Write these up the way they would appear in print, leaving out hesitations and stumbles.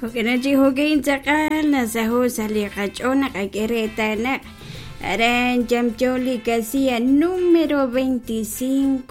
Jo'kan chi jo'ka'in tz'aqal nasaho' sa' li qach'ool naqak'e reetal naq aran yamyo li casilla número 25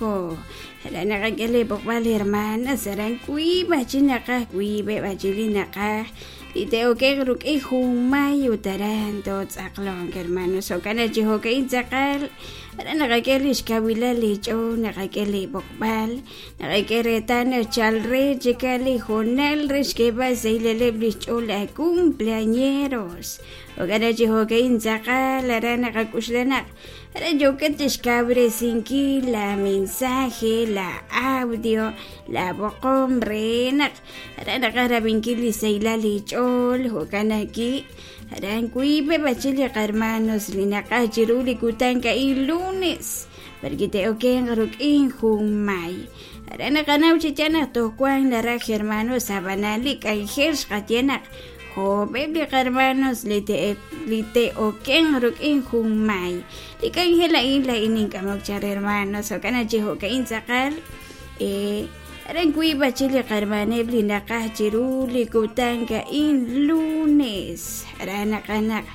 aran naqak'e li b'oqb'al hermanas aran wiib' aj chi naqaj wiib'eb' aj chi li naqaj li te'oke'q ruk'in junmay ut aran tootz'aqlonk hermanos jo'kan chi jo'ka'in tz'aqal aran naqak'e li xkawilal li ch'ool naqak'e li b'oqb'al Naqak'e reetal naq chal re chika li hoonal re xk'eeb'al xsahilaleb' li xch'ool a cumpleañeros. Jo'kan chi jo'ka'in tz'aqal aran naqak'uxla naq aran yookat chixkawresinkil la mensaje, la audio, la b'oqom re naq aran naqaj rab'inkil li sahilal li ch'ool jo'kan ajwi' aran wiib'eb' aj chik li qarmanos li naqaj chiru li kutan a'in lunes. Porque te'okenq ruk'in jun may. Aran naqanaw chi yaal naq toj wank naraj hermanos ab'anan li k'anjel xqaye naq jo'b'eb' li qarmanos li te'okenq ruk'in jun may. Li k'anjel a'in laa'in nink'amok chaq hermanos jo'kan chi jo'ka'in tz'aqal aran wiib' aj chik li qarmaneb' li naqaj chiru li kutan a'in lunes. Aran naqaj naq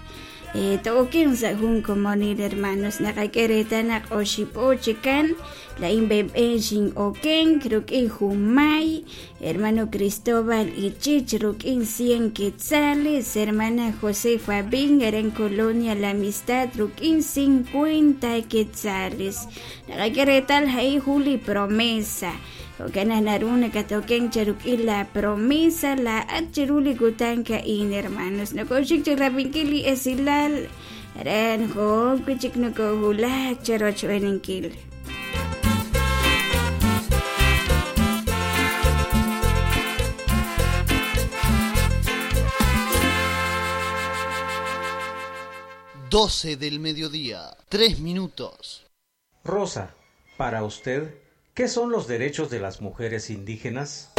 To'okenq sa' jun komonil hermanos naqak'e reetal naq oxib'o chikan laa'in b'enb'en xin'okenk ruk'in jun may hermano Cristóbal Ichich ruk'in 100 quetzales hermana Josefa Bin aran Colonia La Amistad ruk'in 50 quetzales naqak'e reetal a'in jun li promesa Jo'kan naq naru nakatokenk cheruk'il la promesa laa'at chiru li kutan a'in, hermanos. Nokoxik chi rab'inkil li esilal aran jo'ok wi' chik nokohulak cherochb'eeninkil. Doce del mediodía, 3 minutos. Rosa, para usted, ¿qué son los derechos de las mujeres indígenas?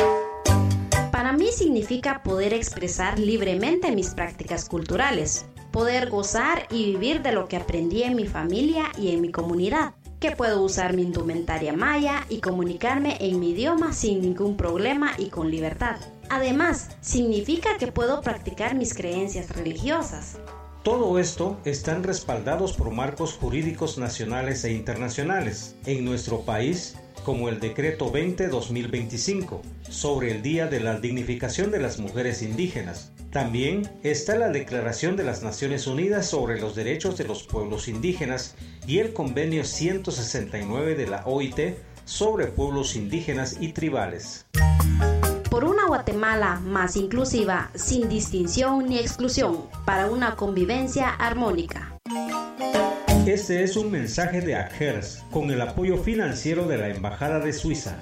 Para mí significa poder expresar libremente mis prácticas culturales, poder gozar y vivir de lo que aprendí en mi familia y en mi comunidad, que puedo usar mi indumentaria maya y comunicarme en mi idioma sin ningún problema y con libertad. Además, significa que puedo practicar mis creencias religiosas. Todo esto están respaldados por marcos jurídicos nacionales e internacionales. En nuestro país, como el Decreto 20-2025 sobre el Día de la Dignificación de las Mujeres Indígenas. También está la Declaración de las Naciones Unidas sobre los Derechos de los Pueblos Indígenas y el Convenio 169 de la OIT sobre Pueblos Indígenas y Tribales. Por una Guatemala más inclusiva, sin distinción ni exclusión, para una convivencia armónica. Este es un mensaje de AGERS con el apoyo financiero de la Embajada de Suiza.